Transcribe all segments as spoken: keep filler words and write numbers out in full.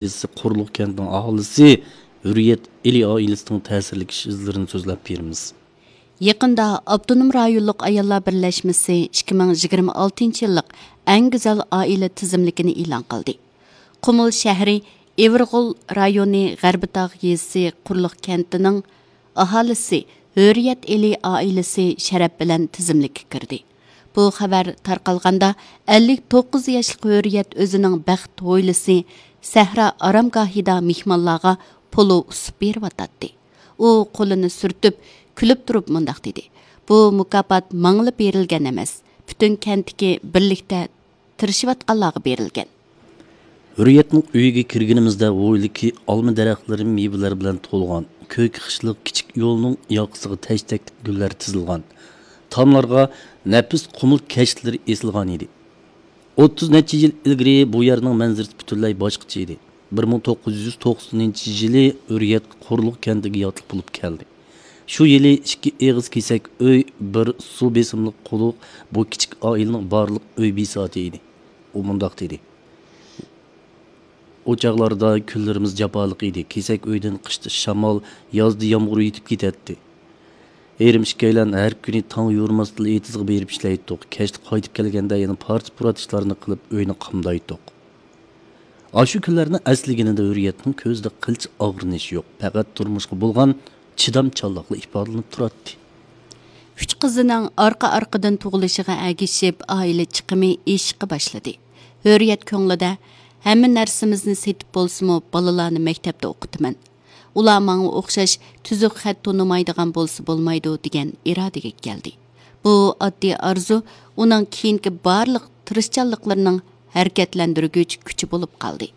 يېزىسى قۇرۇقلۇق كەنتىنىڭ ئاھالىسى ھۆرىيەت ئېلى ئائىلىسىنىڭ تەسىرلىك ئىش ئىزلىرىنى سۆزلەپ بېرىمىز. يېقىندا ئاپتونوم رايونلۇق ئاياللار بىرلەشمىسى ئىككى مىڭ يىگىرمە ئالتىنچى يىللىق ئەڭ گۈزەل ئائىلە تىزىملىكىنى ئېلان قىلدى. قۇمۇل شەھىرى ئىۋىرغول رايونى غەربىي تاغ يېزىسى قۇرۇقلۇق كەنتىنىڭ ئاھالىسى ھۆرىيەت ئېلى ئائىلىسى شەرەپ بىلەن تىزىملىككە كىردى. بۇ خەۋەر تارقالغاندا، ئەللىك توققۇز ياشلىق ھۆرىيەت ئۆزىنىڭ بەخت ھويلىسى سەھرا ئارامگاھىدا مېھمانلارغا پولۇ ئۇسۇپ بېرىۋاتاتتى. ئۇ قولىنى سۈرتۈپ، كۈلۈپ تۇرۇپ مۇنداق دېدى: «بۇ مۇكاپات ماڭىلا بېرىلگەن ئەمەس، پۈتۈن كەنتتىكى بىرلىكتە تىرىشىۋاتقانلارغا بېرىلگەن.» ھۆرىيەتنىڭ ئۆيىگە كىرگىنىمىزدە، ھويلىدىكى ئالما دەرەخلىرى مېۋىلەر بىلەن تولغان، كۆك خىشلىق كىچىك يولنىڭ ياقىسىغا تەشتەكلىك گۈللەر تىزىلغان، تاملارغا نەپىس قۇمۇل كەشتىلىرى ئېسىلغان ئىدى. ئوتتۇز نەچچە يىل ئىلگىرى بۇ يەرنىڭ مەنزىرىسى پۈتۈنلەي باشقىچە ئىدى. بىر مىڭ توققۇز يۈز توقسىنىنچى يىلى ھۆرىيەت قۇرۇقلۇق كەنتىگە ياتلىق بولۇپ كەلدى. شۇ يىلى ئىككى ئېغىز كېسەك ئۆي، بىر سۇ بېسىملىق قۇدۇق بۇ كىچىك ئائىلىنىڭ بارلىق ئۆي بىساتى ئىدى. ئۇ مۇنداق دېدى: «ئۇ چاغلاردا كۈنلىرىمىز جاپالىق ئىدى. كېسەك ئۆيدىن قىشتا شامال، يازدا يامغۇر يېتىپ كېتەتتى. ئېرىم ئىككىيلەن ھەر كۈنى تاڭ يورۇماستىن ئېتىزغا بېرىپ ئىشلەيتتۇق. كەچتە قايتىپ كەلگەندە يەنە پارچە-پۇرات ئىشلارنى قىلىپ، ئۆينى قامدايتتۇق.» ئاشۇ كۈنلەرنى ئەسلىگىنىدە ھۆرىيەتنىڭ كۆزىدە قىلچە ئاغرىنىش يوق، پەقەت تۇرمۇشقا بولغان چىدامچانلىقلا ئىپادىلىنىپ تۇراتتى. ئۈچ قىزىنىڭ ئارقا-ئارقىدىن تۇغۇلۇشىغا ئەگىشىپ، ئائىلە چىقىمى ئېشىشقا باشلىدى. ھۆرىيەت كۆڭلىدە: «ھەممە نەرسىمىزنى سېتىپ بولسىمۇ، بالىلارنى مەكتەپتە ئوقۇتىمەن. ئۇلار ماڭا ئوخشاش تۈزۈك خەت تونۇمايدىغان بولسا بولمايدۇ» دېگەن ئىرادىگە كەلدى. بۇ ئاددىي ئارزۇ ئۇنىڭ كېيىنكى بارلىق تىرىشچانلىقلىرىنىڭ ھەرىكەتلەندۈرگۈچ كۈچى بولۇپ قالدى.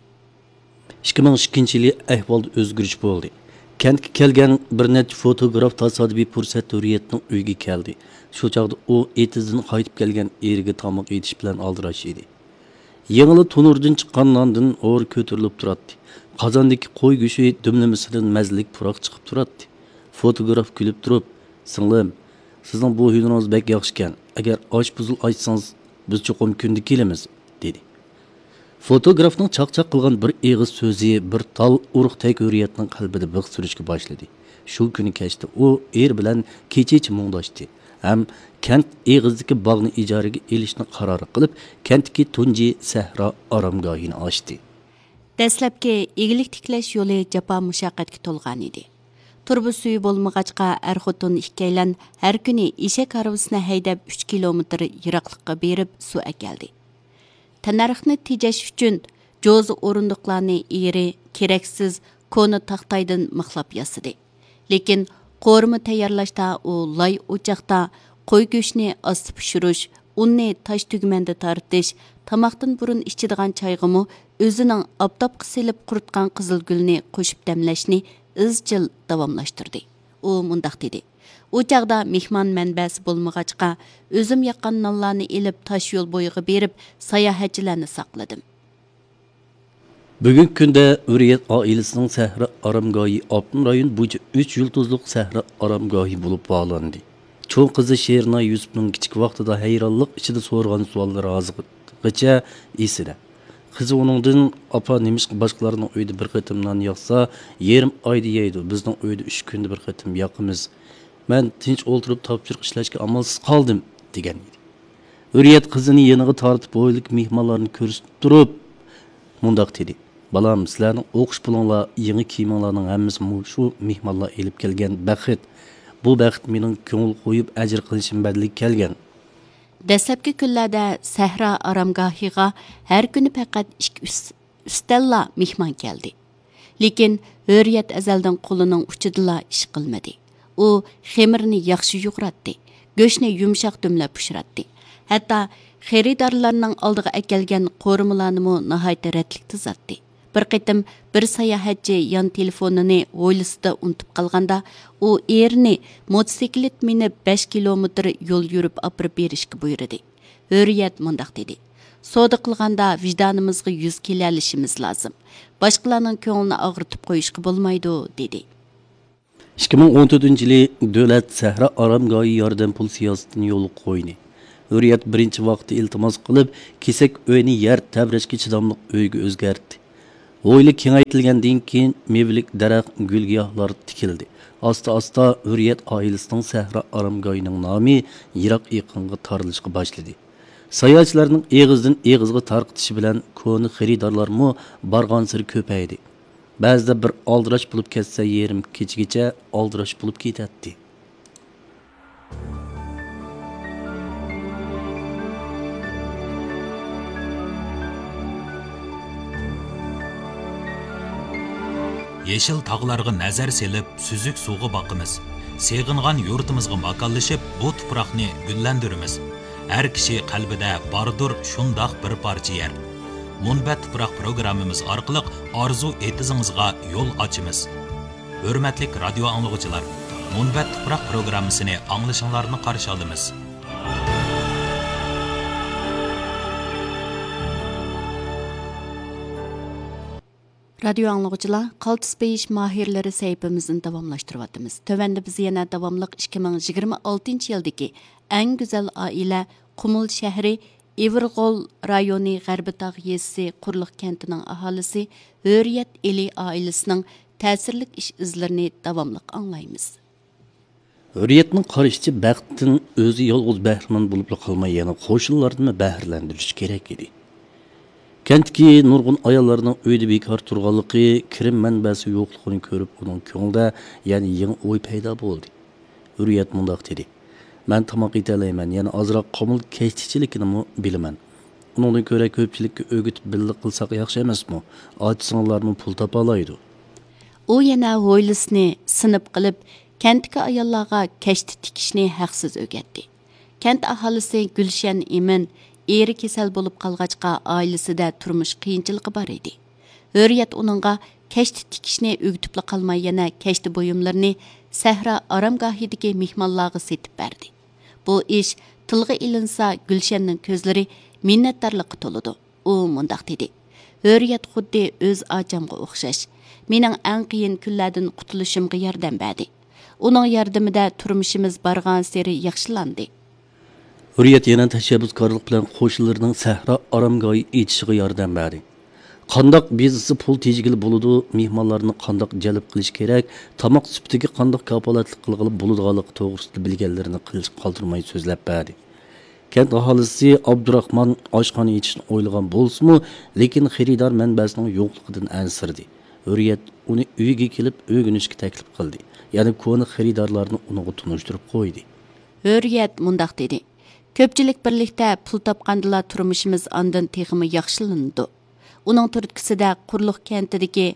ئىككى مىڭ ئىككىنچى يىلى ئەھۋالدا ئۆزگىرىش بولدى. كەنتكە كەلگەن بىر نەچچە فوتوگراف تاسادىپىي پۇرسەتتە ھۆرىيەتنىڭ ئۆيىگە كەلدى. شۇ چاغدا ئۇ ئېتىزدىن قايتىپ كەلگەن ئېرىگە تاماق ئېتىش بىلەن ئالدىراش ئىدى. يېڭىلا تونۇردىن چىققان ناندىن ھور كۆتۈرۈلۈپ تۇراتتى. قازاندىكى قوي گۆشى دۈملىمىسىدىن مەززىلىك پۇراق چىقىپ تۇراتتى. فوتوگراف كۈلۈپ تۇرۇپ: «سىڭلىم، سىزنىڭ بۇ ھۈنىرىڭىز بەك ياخشىكەن. ئەگەر ئاشپۇزۇل ئاچسىڭىز، بىز چوقۇم كۈندە كېلىمىز» دېدى. فوتوگرافنىڭ چاقچاق قىلغان بىر ئېغىز سۆزى بىر تال ئۇرۇقتەك ھۆرىيەتنىڭ قەلبىدە بىخ سۈرۈشكە باشلىدى. شۇ كۈنى كەچتە ئۇ ئېرى بىلەن كېچىچە مۇڭداشتى ھەم كەنت ئېغىزىدىكى باغنى ئىجارىگە ئېلىشنى قارار قىلىپ، كەنتتىكى تۇنجى سەھرا ئارامگاھىنى ئاچتى. دەسلەپكى ئىگىلىك تىكلەش يولى جاپا-مۇشەققەتكە تولغان ئىدى. تۇرۇبا سۈيى بولمىغاچقا، ئەر-خوتۇن ئىككىيلەن ھەر كۈنى ئېشەك ھارۋىسىنى ھەيدەپ، ئۈچ كىلومېتىر يىراقلىققا بېرىپ سۇ ئەكەلدى. تەننەرخنى تېجەش ئۈچۈن جوزا ئورۇندۇقلارنى ئېرى كېرەكسىز كونا تاختايدىن مىخلاپ ياسىدى. لېكىن قورۇما تەييارلاشتا ئۇ لاي ئوچاقتا قوي گۆشىنى ئاستا پىشۇرۇش، ئۇننى تاش تۈگمەندە تارتىش، تاماقتىن بۇرۇن ئىچىدىغان چايغىمۇ ئۆزىنىڭ ئاپتاپقا سېلىپ قۇرۇتقان قىزىلگۈلنى قوشۇپ دەملەشنى ئىزچىل داۋاملاشتۇردى. ئۇ مۇنداق دېدى: «ئۇ چاغدا مېھمان مەنبەسى بولمىغاچقا، ئۆزۈم ياققان نانلارنى ئېلىپ، تاش يول بويىغا بېرىپ، ساياھەتچىلەرنى ساقلىدىم.» بۈگۈنكى كۈندە ھۆرىيەت ئائىلىسىنىڭ سەھرا ئارامگاھى ئاپتونوم رايون بويىچە ئۈچ يۇلتۇزلۇق سەھرا ئارامگاھى بولۇپ باھالاندى. چوڭ قىزى شېرىناي يۈسۈپنىڭ كىچىك ۋاقتىدا ھەيرانلىق ئىچىدە سورىغان سوئاللىرى ھازىرغىچە ئېسىدە. قىزى ئۇنىڭدىن: «ئاپا، نېمىشقا باشقىلارنىڭ ئۆيىدە بىر قېتىم نان ياقسا، يېرىم ئايدا يەيدۇ، بىزنىڭ ئۆيدە ئۈچ كۈندە بىر قېتىم ياقىمىز. مەن تىنچ ئولتۇرۇپ تاپشۇرۇق ئىشلەشكە ئامالسىز قالدىم» دېگەن ئىدى. ھۆرىيەت قىزىنى يېنىغا تارتىپ، ھويلىدىكى مېھمانلارنى كۆرسىتىپ تۇرۇپ مۇنداق دېدى: «بالام، سىلەرنىڭ ئوقۇش پۇلۇڭلار، يېڭى كىيىمىڭلارنىڭ ھەممىسى مۇشۇ مېھمانلار ئېلىپ كەلگەن بەخت. بۇ بەخت مېنىڭ كۆڭۈل قويۇپ ئەجىر قىلىشىم بەدىلىگە كەلگەن.» دەسلەپكى كۈنلەردە سەھرا ئارامگاھىغا ھەر كۈنى پەقەت ئىككى ئۈس-، ئۈستەللا مېھمان كەلدى. لېكىن ھۆرىيەت ئەزەلدىن قولىنىڭ ئۇچىدىلا ئىش قىلمىدى. ئۇ خېمىرنى ياخشى يۇغۇراتتى، گۆشنى يۇمشاق دۈملەپ پىشۇراتتى. ھەتتا خېرىدارلارنىڭ ئالدىغا ئەكەلگەن قورۇمىلارنىمۇ ناھايىتى رەتلىك تىزاتتى. بىر قېتىم بىر ساياھەتچى يان تېلېفونىنى ھويلىسىدا ئۇنتۇپ قالغاندا، ئۇ ئېرىنى موتوسىكلىت مىنىپ بەش كىلومېتىر يول يۈرۈپ ئاپىرىپ بېرىشكە بۇيرۇدى. ھۆرىيەت مۇنداق دېدى: «سودا قىلغاندا ۋىجدانىمىزغا يۈز كېلەلىشىمىز لازىم. باشقىلارنىڭ كۆڭلىنى ئاغرىتىپ قويۇشقا بولمايدۇ» دېدى. ئىككى مىڭ ئون تۆتىنچى يىلى دۆلەت سەھرا ئارامگاھى ياردەم پۇل سىياسىتىنى يولغا قويدى. ھۆرىيەت بىرىنچى ۋاقىتتا ئىلتىماس قىلىپ، كېسەك ئۆينى يەر تەۋرەشكە چىداملىق ئۆيگە ئۆزگەرتتى. ھويلا كېڭەيتىلگەندىن كېيىن، مېۋىلىك دەرەخ، گۈل-گىياھلار تىكىلدى. ئاستا-ئاستا ھۆرىيەت ئائىلىسىنىڭ سەھرا ئارامگاھىنىڭ نامى يىراق ئېقىنغا تارىلىشقا باشلىدى. ساياھەتچىلەرنىڭ ئېغىزدىن ئېغىزغا تارقىتىشى بىلەن كونا خېرىدارلارمۇ بارغانسېرى كۆپەيدى. بەزىدە بىر ئالدىراش بولۇپ كەتسە، يېرىم كېچىگىچە ئالدىراش بولۇپ كېتەتتى. يېشىل تاغلارغا نەزەر سېلىپ، سۈزۈك سۇغا باقىمىز. سېغىنغان يۇرتىمىزغا ماكانلىشىپ، بۇ تۇپراقنى گۈللەندۈرىمىز. ھەر كىشى قەلبىدە باردۇر شۇنداق بىر پارچە يەر. مۇنبەت تۇپراق پروگراممىمىز ئارقىلىق ئارزۇ ئېتىزىڭىزغا يول ئاچىمىز. ھۆرمەتلىك رادىيو ئاڭلىغۇچىلار، مۇنبەت تۇپراق پروگراممىسىنى ئاڭلىشىڭلارنى قارشى ئالىمىز. رادىيو ئاڭلىغۇچىلار، قالتىس بېيىش ماھىرلىرى سەھىپىمىزنى داۋاملاشتۇرۇۋاتىمىز. تۆۋەندە بىز يەنە داۋاملىق ئىككى مىڭ يىگىرمە ئالتىنچى يىلدىكى ئەڭ گۈزەل ئائىلە، قۇمۇل شەھىرى، ئىۋىرغول رايونى غەربىي تاغ يېزىسى قۇرلۇق كەنتىنىڭ ئاھالىسى ھۆرىيەت ئېلى ئائىلىسىنىڭ تەسىرلىك ئىش ئىزلىرىنى داۋاملىق ئاڭلايمىز. ھۆرىيەتنىڭ قارىشىچە، بەختتىن ئۆزى يالغۇز بەھرىمەن بولۇپلا قالماي، يەنە قوشنىلاردىنمۇ بەھرىلەندۈرۈش كېرەك ئىدى. كەنتتىكى نۇرغۇن ئاياللارنىڭ ئۆيدە بىكار تۇرغانلىقى، كىرىم مەنبەسى يوقلۇقىنى كۆرۈپ، ئۇنىڭ كۆڭلىدە يەنە يېڭى ئوي پەيدا بولدى. ھۆرىيەت مۇنداق دېدى: «مەن تاماق ئېتەلەيمەن، يەنە ئازراق قۇمۇل كەشتىچىلىكىنىمۇ بىلىمەن. ئۇنىڭدىن كۆرە كۆپچىلىككە ئۆگىتىپ بىللە قىلساق ياخشى ئەمەسمۇ؟ ئاچا-سىڭىللارمۇ پۇل تاپالايدۇ.» ئۇ يەنە ھويلىسىنى سىنىپ قىلىپ، كەنتتىكى ئاياللارغا كەشتە تىكىشنى ھەقسىز ئۆگەتتى. كەنت ئاھالىسى گۈلشەن ئىمىن ئېرى كېسەل بولۇپ قالغاچقا، ئائىلىسىدە تۇرمۇش قىيىنچىلىقى بار ئىدى. ھۆرىيەت ئۇنىڭغا كەشتە تىكىشنى ئۆگىتىپلا قالماي، يەنە كەشتە بۇيۇملىرىنى سەھرا ئارامگاھىدىكى مېھمانلارغا سېتىپ بەردى. بۇ ئىش تىلغا ئېلىنسا، گۈلشەننىڭ كۆزلىرى مىننەتدارلىققا تولىدۇ. ئۇ مۇنداق دېدى: «ھۆرىيەت خۇددى ئۆز ئاچامغا ئوخشاش. مېنىڭ ئەڭ قىيىن كۈنلەردىن قۇتۇلۇشۇمغا ياردەم بەردى. ئۇنىڭ ياردىمىدە تۇرمۇشىمىز بارغانسېرى ياخشىلاندى.» ھۆرىيەت يەنە تەشەببۇسكارلىق بىلەن قوشنىلىرىنىڭ سەھرا ئارامگاھى ئېچىشىغا ياردەم بەردى. قانداق بىزنېستا پۇل تېجىگىلى بولىدۇ، مېھمانلارنى قانداق جەلپ قىلىش كېرەك، تاماق سۈپىتىگە قانداق كاپالەتلىك قىلغىلى بولىدىغانلىقى توغرىسىدا بىلگەنلىرىنى قىلىشقا قالدۇرماي سۆزلەپ بەردى. كەنت ئاھالىسى ئابدۇراخمان ئاشخانا ئېچىشنى ئويلىغان بولسىمۇ، لېكىن خېرىدار مەنبەسىنىڭ يوقلۇقىدىن ئەنسىرىدى. ھۆرىيەت ئۇنى ئۆيىگە كېلىپ ئۆگىنىشكە تەكلىپ قىلدى. يەنە كونا خېرىدارلارنى ئۇنىڭغا تونۇشتۇرۇپ قويدى. ھۆرىيەت مۇنداق دېدى: «كۆپچىلىك بىرلىكتە پۇل تاپقاندىلا تۇرمۇشىمىز ئاندىن تېخىمۇ ياخشىلىنىدۇ.» ئۇنىڭ تۈرتكىسىدە قۇرلۇق كەنتىدىكى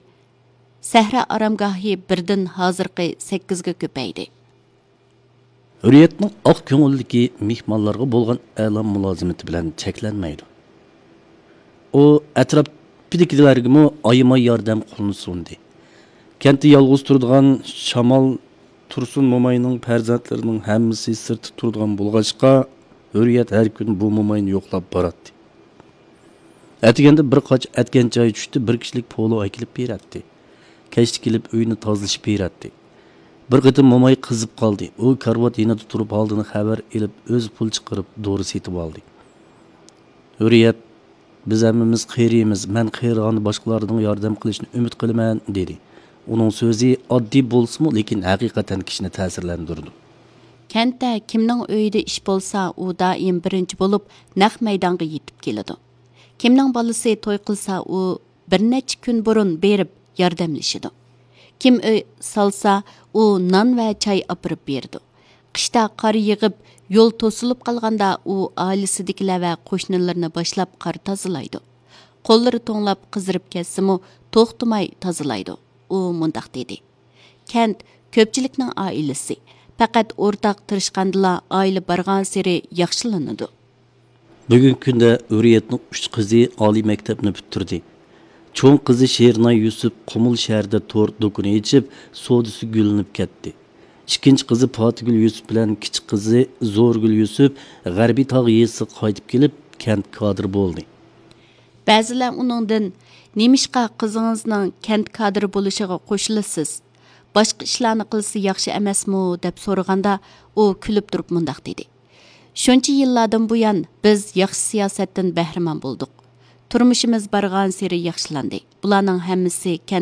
سەھرا ئارامگاھى بىردىن ھازىرقى سەككىزگە كۆپەيدى. ھۆرىيەتنىڭ ئاق كۆڭۈللۈكى، مېھمانلارغا بولغان ئەلا مۇلازىمىتى بىلەن چەكلەنمەيدۇ. ئۇ ئەتراپىدىكىلەرگىمۇ ئايىماي ياردەم قولىنى سۇندى. كەنتتە يالغۇز تۇرىدىغان شامال تۇرسۇن موماينىڭ پەرزەنتلىرىنىڭ ھەممىسى سىرتتا تۇرىدىغان بولغاچقا، ھۆرىيەت ھەر كۈنى بۇ موماينى يوقلاپ باراتتى. ئەتىگەندە بىر قاچا ئەتكەن چاي چۈشتى، بىر كىشىلىك پولۇ ئەكېلىپ بېرەتتى. كەچتە كېلىپ ئۆينى تازىلىشىپ بېرەتتى. بىر قېتىم موماي قىزىپ قالدى. ئۇ كارىۋات يېنىدا تۇرۇپ ھالدىن خەۋەر ئېلىپ، ئۆزى پۇل چىقىرىپ دورا سېتىۋالدى. ھۆرىيەت: «بىز ھەممىمىز قېرىيمىز، مەن قېرىغاندا باشقىلاردىن ياردەم قىلىشنى ئۈمىد قىلىمەن» دېدى. ئۇنىڭ سۆزى ئاددىي بولسىمۇ، لېكىن ھەقىقەتەن كىشىنى تەسىرلەندۈرىدۇ. كەنتتە كىمنىڭ ئۆيىدە ئىش بولسا، ئۇ دائىم بىرىنچى بولۇپ نەق مەيدانغا يېتىپ كېلىدۇ. كىمنىڭ بالىسى توي قىلسا، ئۇ بىر نەچچە كۈن بۇرۇن بېرىپ ياردەملىشىدۇ. كىم ئۆي سالسا، ئۇ نان ۋە چاي ئاپىرىپ بېرىدۇ. قىشتا قار يېغىپ، يول توسۇلۇپ قالغاندا، ئۇ ئائىلىسىدىكىلەر ۋە قوشنىلىرىنى باشلاپ قار تازىلايدۇ. قوللىرى توڭلاپ قىزىرىپ كەتسىمۇ، توختىماي تازىلايدۇ. ئۇ مۇنداق دېدى: «كەنت كۆپچىلىكنىڭ ئائىلىسى. پەقەت ئورتاق تىرىشقاندىلا، ئائىلە بارغانسېرى ياخشىلىنىدۇ.» بۈگۈنكى كۈندە ھۆرىيەتنىڭ ئۈچ قىزى ئالىي مەكتەپنى پۈتتۈردى. چوڭ قىزى شېرىناي يۈسۈپ قۇمۇل شەھىرىدە تور دۇكىنى ئېچىپ، سودىسى گۈللىنىپ كەتتى. ئىككىنچى قىزى پاتىگۈل يۈسۈپ بىلەن كىچىك قىزى زورگۈل يۈسۈپ غەربىي تاغ يېزىسىغا قايتىپ كېلىپ، كەنت كادىرى بولدى. بەزىلەر ئۇنىڭدىن: «نېمىشقا قىزىڭىزنىڭ كەنت كادىرى بولۇشىغا قوشۇلىسىز؟ باشقا ئىشلارنى قىلسا ياخشى ئەمەسمۇ؟» دەپ سورىغاندا، ئۇ كۈلۈپ تۇرۇپ مۇنداق دېدى: «شۇنچە يىللاردىن بۇيان، بىز ياخشى سىياسەتتىن بەھرىمەن بولدۇق. تۇرمۇشىمىز بارغانسېرى ياخشىلاندى. بۇلارنىڭ ھەممىسى كەنت